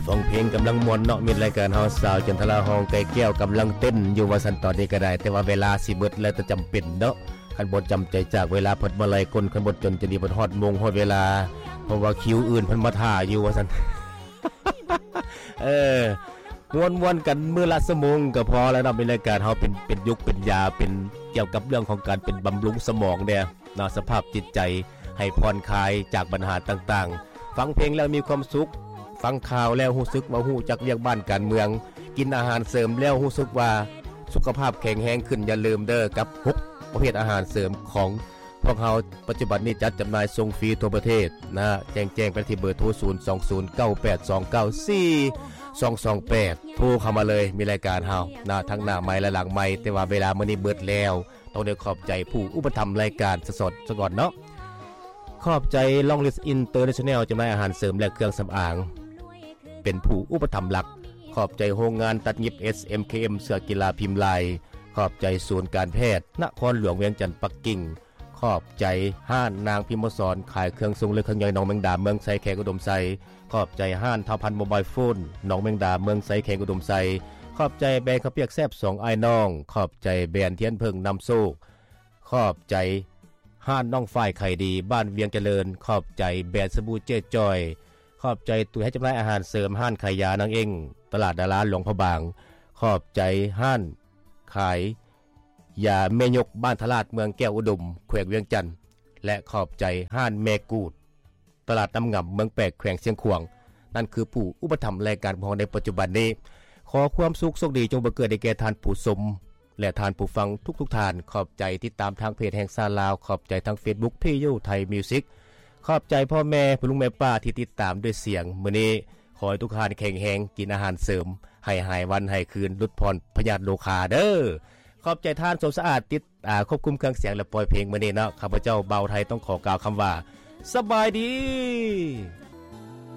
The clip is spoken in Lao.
ຟັງເພງກຳລັງມ່ວນເນາະ ມິດລາຍການເຮົາ ສາວຈັນທະລາ ຮ້ອງໄກ່ແກ້ວກຳລັງເຕັ້ນຢູ່ວ່າຊັ້ນ ຕອນນີ້ກໍໄດ້ ແຕ່ວ່າເວລາຊິເບິດແລ້ວ ແຕ່ຈຳເປັນເນາະ ຄັນບໍ່ຈຳໃຈຈາກເວລາ ເພິ່ນມາໄລ່ກົນ ຄັນບໍ່ຈົນຈະນີ້ ເພິ່ນຮອດໂມງຮອດເວລາ ເພາະວ່າຄິວອື່ນເພິ່ນມາຖ້າຢູ່ວ່າຊັ້ນ ເອີ ມ່ວນໆກັນມື້ລະຊົ່ວໂມງກໍພໍແລ້ວເນາະ ມີລາຍການເຮົາເປັນ ເປັນຢຸກເປັນຢາ ເປັນກ່ຽວກັບເລື່ອງຂອງການເປັນບຳລຸງສະໝອງແດ່ເນາະ ສະພາບຈິດໃຈໃຫ້ຜ່ອນຄາຍຈາກບັນຫາຕ່າງໆ ຟັງເພງແລ້ວມີຄວາມສຸກ ຟັງຂ່າວແລ້ວຮູ້ສຶກວ່າຮູ້ຈັກວຽກບ້ານການເມືອງ ກິນອາຫານເສີມແລ້ວຮູ້ສຶກວ່າສຸຂະພາບແຂງແຮງຂຶ້ນ ຢ່າລືມເດີກັບຫົກປະເພດອາຫານເສີມຂອງ ພວກເຮົາປັດຈຸບັນນີ້ຈັດຈຳໜ່າຍສົ່ງຟຣີທົ່ວປະເທດນະ ແຈ້ງ ແຈ້ງໄປທີ່ເບີໂທ ສູນສອງສູນເກົ້າແປດສອງເກົ້າສີ່ສອງສອງແປດ ໂທເຂົ້າມາເລີຍ ມີລາຍການເຮົານະ ທັງໜ້າໄມ ແລະ ຫຼັງໄມ ແຕ່ວ່າເວລາມື້ນີ້ເບິດແລ້ວ ຕ້ອງໄດ້ຂອບໃຈຜູ້ອຸປະຖຳລາຍການສະສອດສະກ່ອນເນາະ ຂອບໃຈ Long List International ຈຳໜ່າຍອາຫານເສີມ ແລະ ເຄື່ອງສຳອາງ ເປັນຜູ້ອຸປະຖຳຫຼັກ ຂອບໃຈໂຮງງານຕັດຫຍິບ ເອສເອັມເຄເອັມ ເສື້ອກິລາພິມລາຍ ຂອບໃຈສູນການແພດນະຄອນຫຼວງວຽງຈັນປັກກິ່ງ ຂອບໃຈຮ້ານນາງພິມມະສອນ ຂາຍເຄື່ອງຊົງ ແລະ ເຄື່ອງຍ່ອຍ ໜອງແມງດາ ເມືອງໄຊ ແຂວງອຸດົມໄຊ ຂອບໃຈຮ້ານທ້າວພັນໂມບາຍໂຟນ ໜອງແມງດາ ເມືອງໄຊ ແຂວງອຸດົມໄຊ ຂອບໃຈແບຣນເຂົ້າປຽກແຊບສອງອ້າຍນ້ອງ ຂອບໃຈແບຣນທຽນເຜິ້ງນຳໂຊກ ຂອບໃຈຮ້ານນ້ອງຝ້າຍໄຂ່ດີ ບ້ານວຽງຈະເລີນ ຂອບໃຈແບຣນສະບູເຈ້ຈ້ອຍ ຂອບໃຈຕົວແທນຈຳໜ່າຍອາຫານເສີມ ຮ້ານຂາຍຢານາງເອັ້ງ ຕະຫຼາດດາລາ ຫຼວງພະບາງ ຂອບໃຈຮ້ານຂາຍຢາແມ່ຍົກ ບ້ານທະລາດ ເມືອງແກ້ວອຸດົມ ແຂວງວຽງຈັນ ແລະ ຂອບໃຈຮ້ານແມ່ກູດ ຕະຫຼາດນ້ຳງຳ ເມືອງແປກ ແຂວງຊຽງຂວາງ ນັ້ນຄືຜູ້ອຸປະຖຳລາຍການຂອງເຮົາໃນປັດຈຸບັນນີ້ ຂໍຄວາມສຸກໂຊກດີຈົ່ງບັງເກີດໃຫ້ແກ່ທ່ານຜູ້ຊົມ ແລະ ທ່ານຜູ້ຟັງທຸກໆທ່ານ ຂອບໃຈຕິດຕາມທາງເພຈແຫ່ງຊາດລາວ ຂອບໃຈທາງເຟສບຸກ PU Thai Music ຂອບໃຈພໍ່ແມ່ ພໍ່ລຸງແມ່ປ້າທີ່ຕິດຕາມດ້ວຍສຽງ ມື້ນີ້ຂໍໃຫ້ທຸກທ່ານແຂງແຮງ ກິນອາຫານເສີມ ໃຫ້ຫາຍວັນຫາຍຄືນ ຫຼຸດຜ່ອນພະຍາດໂລຄາເດີ ຂອບໃຈທ່ານ ສົມສະອາດ ຕິດ ອາ ຄວບຄຸມເຄື່ອງສຽງ ແລະ ປ່ອຍເພງມື້ນີ້ເນາະ ຂ້າພະເຈົ້າ ບ່າວໄທ ຕ້ອງຂໍກ່າວຄຳວ່າ ສະບາຍດີ.